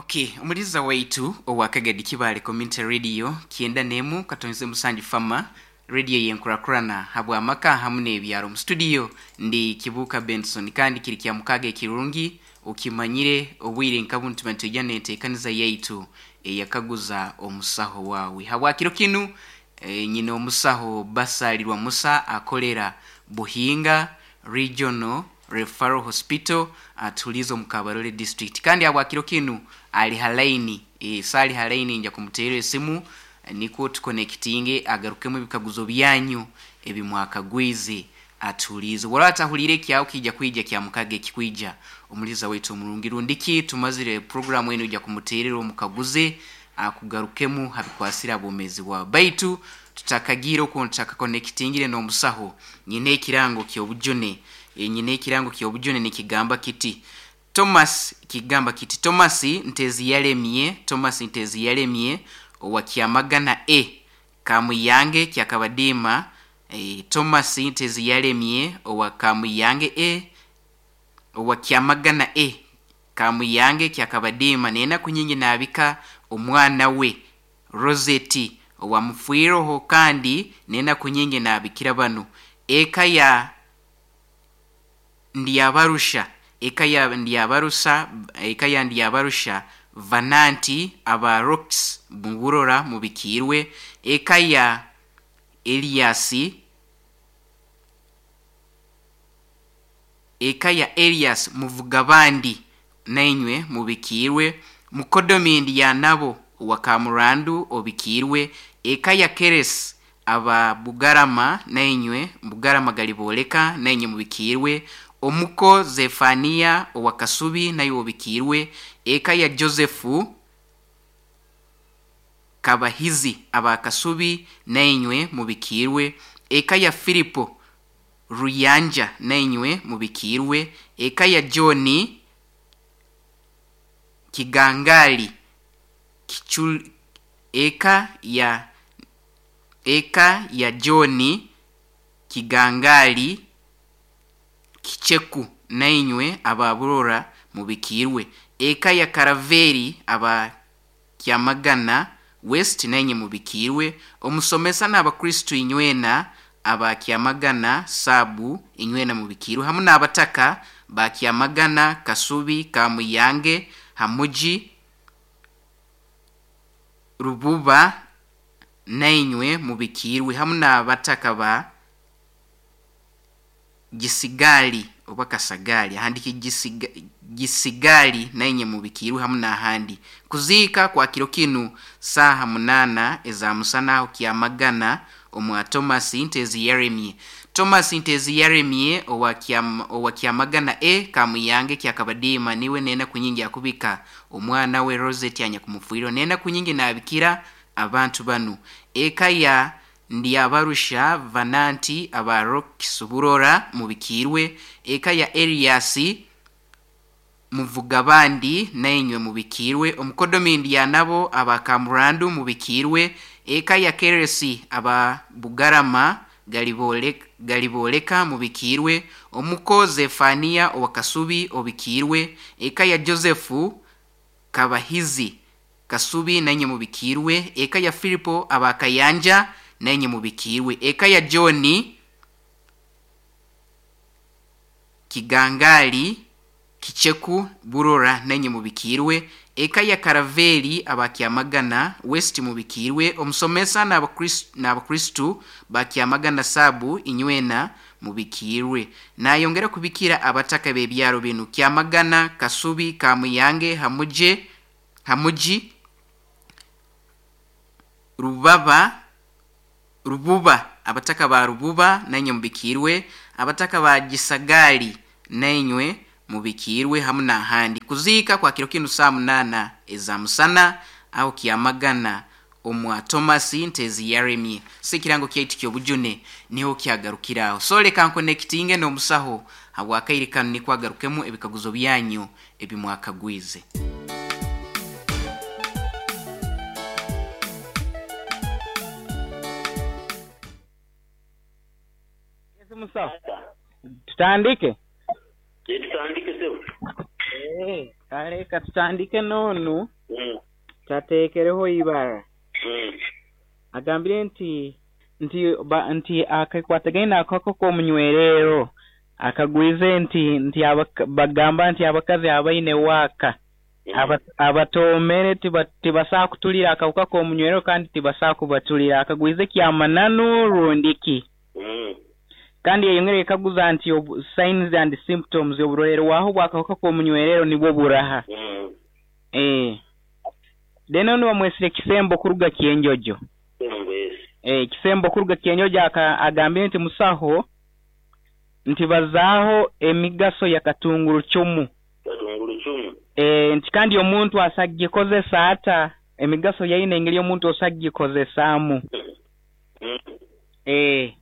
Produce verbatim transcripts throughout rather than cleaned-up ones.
Okay, omuliza waitu owa Kagadi Kibaale Community Radio kyenda n'emu katonze musanju fama radio yenkurakurana habw'amaka hamu n'ebyaro. Mu studio ndi Kibuuka Benson, kandi kiri kya mukaaga ekirungi okimanyire obwire nka bunu tuba nitwija n'enteekaniza yaitu eyakaguza omusaho waawe. Habwakiro kinu e, nyina omusaho Basalirwa Musa akolera Buhinga Regional Referral Hospital atuliza omu Kabarole district, kandi habwakiro kinu ali halaini e, sali halaini nja kumuteera esimu nikwo tukonekitinge agarukemu ebikaguzo byanyu ebimwakagwize atulize. Wala atahulire ekyawo kijja kwija kya mukaga ekikwija. Omuliza waitu omurungi rundiki tumazire programu enu ija kumuteerera omukaguze akugarukemu habikwasira abomezi bwawe. Baitu tutakagira okwo tutakakonekitingire n'omusaho, nyina ekirango ky'obujune, e, nyina ekirango ky'obujune nikigamba kiti Thomas, kigamba kiti Thomas Ntezi yalemye, Thomas Ntezi yalemye owa Kyamagana E Kamuyange Kyakabadima. E, Thomas Ntezi yalemye owa Kamuyange E owa Kyamagana E Kamuyange Kyakabadima nenaku nyingi nabika omwana we Rosette owa Mufwiroho, kandi nenaku nyingi nabikira banu eka ya Ndyabarusha, eka ya Ndyabarusha, eka ya Ndyabarusha Vananti aba Rocks Muburora mubikirwe, eka ya Eliasi, eka ya Elias Muvugabandi nainywe mubikirwe, mukodomindi ya nabo wa Kamurandu obikirwe, eka ya Keres aba Bugarama nainywe Bugarama galiboleka nainywe mubikirwe, omuko Zefania owa Kasubi nayo obikirwe, eka ya Josefu Kabahizi aba Kasubi nainywe mubikirwe, eka ya Filipo Ruyanja nainywe mubikirwe, eka ya Johni Kigangali Kichul, eka ya eka ya Johni Kigangali Kicheku nainywe aba Burora mubikirwe, eka ya Karaveri aba Kyamagana West nainywe mubikirwe, omusomesa n'abakristu inywena aba Kyamagana Sabu inywena mubikirwe, hamu n'abataka ba Kyamagana Kasubi Kamuyange Hamuji Rububa nainywe mubikirwe, hamu n'abataka ba Gisigali oba Kasagali ahandiki gisiga, Gisigali nainywe mubikirwe hamu n'ahandi. Kuziika kwa kiro kinu saaha munana eza musana aho Kyamagana omwa Thomas Ntezi Yeremie. Thomas Ntezi Yeremie owa Kyam, owa Kyamagana E Kamuyange Kyakabadima niwe nena kunyingi akubika omwana we Rosette anyakumufwiro nena kunyingi nabikira abantu banu. Eka ya Ndyabarusha Vananti aba Rock Suburora mubikirwe, eka ya Eliasi Muvugabandi nainywe mubikirwe, omukodomindi ya nabo aba Kamurandu mubikirwe, eka ya Keresi aba Bugarama galiboleka, galiboleka mubikirwe, omuko Zefania owa Kasubi obikirwe, eka ya Josefu Kabahizi Kasubi nainywe mubikirwe, eka ya Filipo aba Kayanja nainywe mubikirwe, eka ya Johni Kigangali Kicheku Burora nainywe mubikirwe, eka ya Karaveri aba Kyamagana West mubikirwe, omusomesa n'abakristu ba Kyamagana Sabu inywena mubikirwe. Nayongera kubikira abataka b'ebyaro binu Kyamagana Kasubi Kamuyange Hamuje Hamuji Rubaba Rububa, abataka ba Rububa nainywe mubikirwe, abataka ba Gisagali nainywe mubikirwe hamu n'ahandi. Kuziika kwa kiro kinu saa munana eza musana aho Kyamagana omwa Thomas Ntezi Yeremie. Si kirango kyaitu ky'obujune niho kyagarukiraho. So leka nkonekitinge n'omusaho habwakaire kanu nikwo agarukemu ebikaguzo byanyu ebimwakagwize. Musaho, tutandike? Tutandike sebo. Eh, kale katutandike n'onu Mm. tateekereho ibara. Mm. Agambire nti nti ba, nti akakwatagaine akako k'omunywerero akagwize nti nti abaka, bagamba nti abakazi abaine waaka aba, abatoomere tiba, tibasaa kutulira akawuka k'omunywerero kandi tibasaa kubatulira akagwize kyamananu rundiki. Mm. Kandi yayongera ekaguza nti obu, signs and symptoms oburorerwaho bw'akawuka k'omunywerero nibwo buraha. Mm. Eh. Then ono bamwesire kisembo kuruga Kyenjojo. Yes. Eh, kisembo kuruga Kyenjojo aka agambire nti musaho nti bazaaho emigaso ya katunguru chumu. Katunguru chumu. Eh, nti kandi omuntu asagikozesa ata emigaso yaine engeri omuntu osagikozesaamu. Mm. Eh.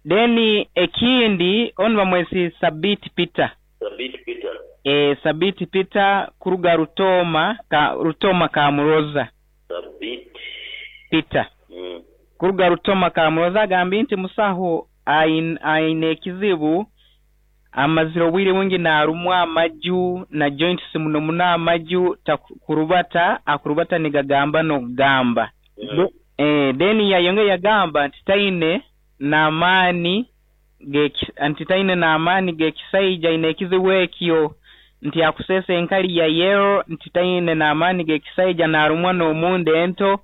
Then ekindi ono bamwesi Sabiti Peter. Sabiti Peter. Eh, Sabiti Peter kuruga Rutoma ka Rutoma Kamuroza. Sabiti Peter. Mm. Kuruga Rutoma Kamuroza agambye nti musaho aine aine ekizibu amazire obwire bungi narumwa amaju na joints muno muno amaju takurubata akurubata nigagamba n'okugamba. Mm. Eh, then yayongera yagamba nti taine n'amaani nti taine n'amaani g'ekisaija aine ekizibu ekyo nti akusesa enkali ya yero nti taine n'amaani g'ekisaija narumwa n'omunda ento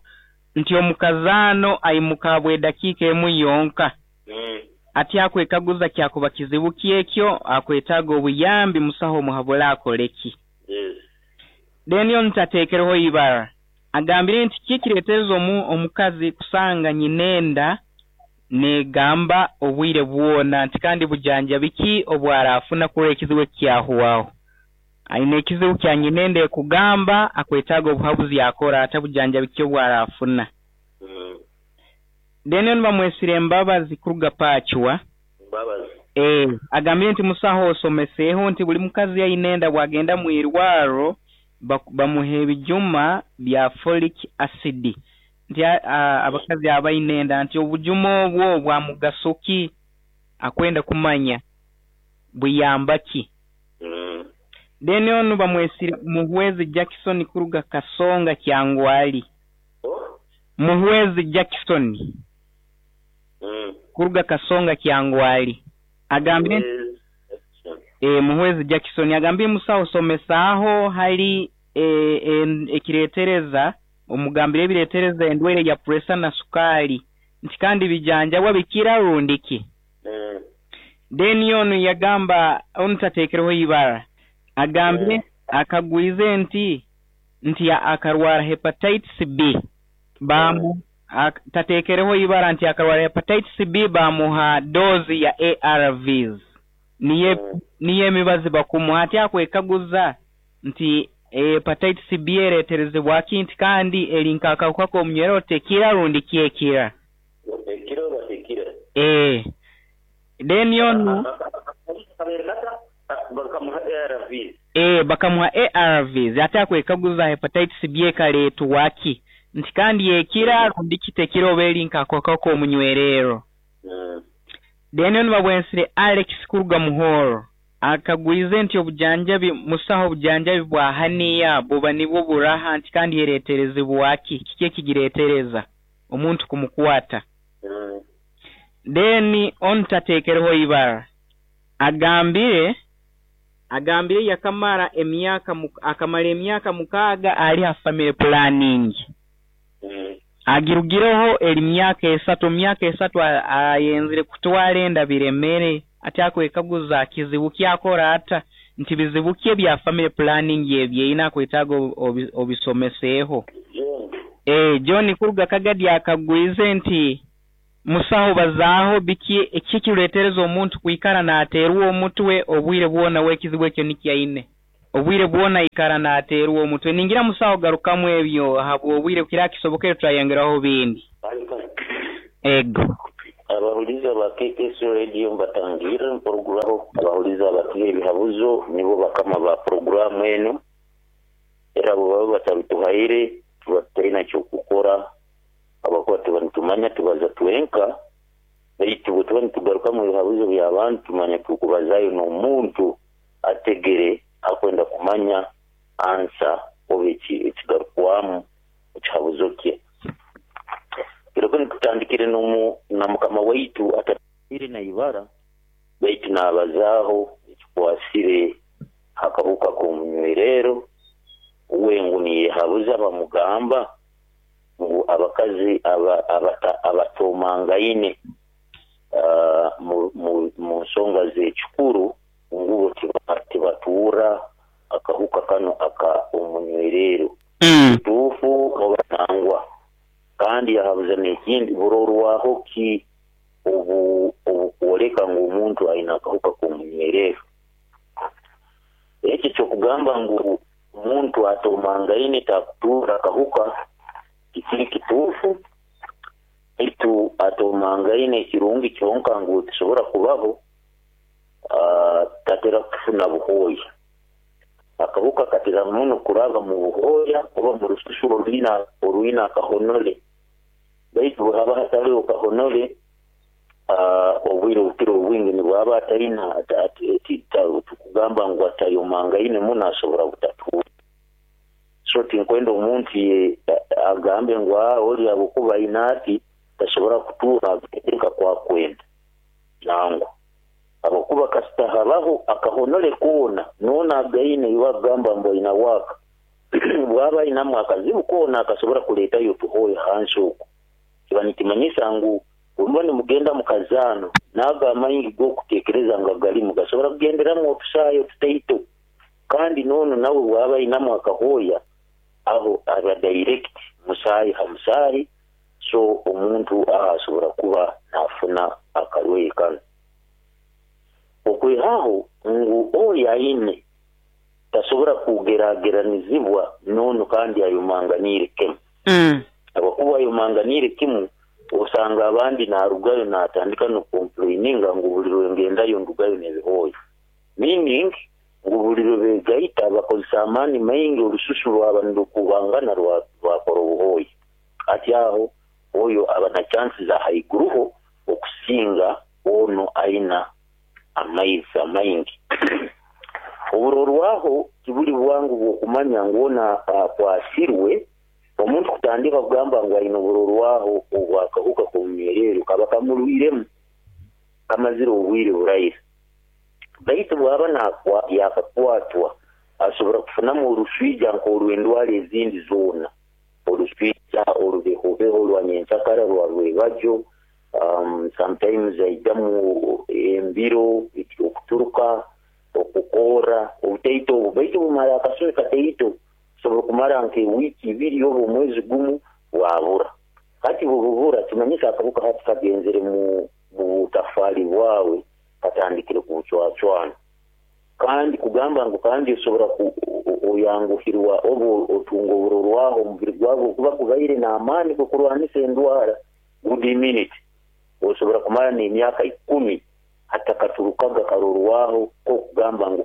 nti omukazaano aimuka bw'edakiika emu yonka. Mm. Ati akwekaguza kyakuba kizibu kyekyo akwetaaga obuyambi musaho omuhabura akoleki. Yes. Then yo ntateekereho ibara agambire nti kikireetereza omu omukazi kusanga nyinenda negamba obwire bwona nti kandi bujanjabi ki obwarafuna kurora ekizibu ekyahuwaho. Aine ekizibu kya nyinenda ekugamba akwetaaga obuhabuzi akora ata bujanjabi ki obwarafuna. Mm. Then ono bamwesire Embabazi kuruga Pachwa. Mbabazi. Eh, agambire nti musaho osomeseeho nti buli mukazi ayinenda bwagenda mu irwaro bamuha ebijuma bya folic acid. Nti abakazi abayinenda nti obujuma obwo bwa mugaso ki akwenda kumanya buyamba ki. Mm. Then ono bamwesire Muhwezi Jackson kuruga Kasonga Kyangwali. Oh? Muhwezi Jackson. Mm. Kuruga Kasonga Kyangwali. Agambire eh, Muhwezi Jackson agambire musaho somesaaho hali eh, ekireetereza omugambire ebireetereza endwaire ya pressure na sukali nti kandi bijanjabwa bikira rundiki. Mm. Then ono yagamba ono tateekereho ibara agambire Mm. akagwize nti nti akarwara hepatitis B bamu Mm. ak, tateekereho ibara nti akarwara hepatitis B bamuha dozi ya A R Vs niye Mm. niye emibazi bakumuha ati akwekaguza nti hepatitis B ereeterezebwa ki nti kandi eri nk'akawuka k'omunywero tekira rundi kyekira. Ekira oba tekira? Eh. Then ono Bakamuha A R Vs. Eh, bakamuha A R Vs ate akwekaguza hepatitis B ekaleetwa ki nti kandi ekira rundi kitekira oba eri nk'akawuka k'omunywerero. Mm. Then ono babwensire Alex kuruga Muhoro akagwize nti obujanjabi musaho obujanjabi bwa haniya buba nibwo buraha nti kandi ereeterezebwa ki kiki ekigireetereza omuntu kumukwata. Mm. Then ono tateekereho ibara agambire agambire yakamara emyaka akamara emyaka mukaaga ali ha family planning. Mm. Agirugireho eri myaka esatu myaka esatu ayenzire kutwara enda biremere ati akwekaguza kizibu kyakora ata nti bizibu ki ebya family planning ebyeina akwetaaga obisomeseeho. John. Eh, John kuruga Kagadi akagwize nti musaho bazaaho biki ekikireetereza omuntu kwikara naateerwa omutwe obwire bwona w'ekizibu ekyo nikyaine. Obwire bwona ikara naateerwa omutwe ningira musaho garukamu ebyo habw'obwire kira kisobokere turayongeraho bindi. Ego. Abahuliza ba K K S Radio mbatangira mpuruguraho abahuliza abatuye ebihabuzo nibo bakama ba programu eno era abo baba batabituhaire tuba tutalina kyokukora abakuba tuba nitumanya tubaza twenka baitu bwe tuba nitugaruka mu bihabuzo by'abantu tumanya tukubazayo n'omuntu ategere Akwenda kumanya ansa oba ekigarukwamu ekihabuzo kye. Kiroko nikutandikire nomu na mukama waitu atatire na ibara baitu nabazaaho ekikwasire akahuka k'omunywerero uwe ngu niyehabuza bamugamba ngu abakazi abatomangaine mu nsonga z'ekikuru ngubo tibatuura akahuka kano aka omunywerero kituufu oba nangwa. Kandi yahabuza n'ekindi burorwaho ki obukwoleka ngu omuntu aine akahuka k'omunywerero. Ekyo kyokugamba ngu omuntu atomangaine takutuura akahuka kikiri kituufu, baitu atomangaine ekirungi kyonka ngu tisobora kubaho tatera kufuna buhooya. Akahuka katera muno kuraba mu buhooya oba mu rususu orwina orwina akahonole, baitu bwehaba hatariho kahonole obwire obukiro obwingi nibwaba atalina tukugamba ngu atayomangaine muno asobora butatuura. So tinkwenda omuntu agambe ngu oli habwokuba aine ati tasobora kutuura nka kwakwenda nangwa, habwokuba kasita habaho akahonole koona noona againe iwe agamba ngu aina waaka bwaba ainamu akazibu koona akasobora kuleetayo otuhooya hansi okwo, kiba nikimanyisa ngu bwemuba nimugenda mukazaano naago amaingi g'okuteekereza nga galimu gasobora kugenderamu otusaayo otutaito, kandi noono nawe bwaba ainamu akahooya aho aba direct musaayi ha musaayi, so omuntu aho asobora kuba naafuna akarwaire kanu. Okwihaho ngu oyo aine tasobora kugerageranizibwa noono kandi ayomanganiire kimu, habwokuba ayomanganiire kimu osanga abandi narugayo natandika nokomplaininga ngu buli lwengendayo ndugayo n'ebihooya, meaning ngu buli lwe begaita bakozesa amaani maingi orususu rwaba nirukubangana rwakora obuhooya. Ati aho oyo aba na chansi za haiguruho okusinga ono aina amaizi amaingi. Oburorwaho tibuli bwangu bw'okumanya ngu ona akwasirwe. Omuntu kutandika kugamba ngu aine oburorwaho obwakahuka k'omunywerero kaba kamurwiremu kamazire obwire buraira, baitu bwaba yakakwatwa asobora kufunamu oruswija nk'orw'endwara ezindi zoona, oruswija orubehobeho rwa nyenkyakara rwa rwebajo, um, sometimes aijamu embiro, okuturuka, okukoora obutaito obu, baitu bumara akasumi kataito, sobola kumara nk'ewiiki ibiri oba omwezi gumu bwabura. Hati bububura kimanyisa akahuka hati kagenzere mu butafaali bwawe katandikire kubucwacwana. Kandi kugamba ngu kandi osobora oyanguhirwa oba otunga oburorwaho omubiri gwawe okuba kubaire n'amaani gokurwanisa endwara, good immunity, osobola kumara n'emyaka ikumi hatakaturukaga karorwaho kokugamba ngu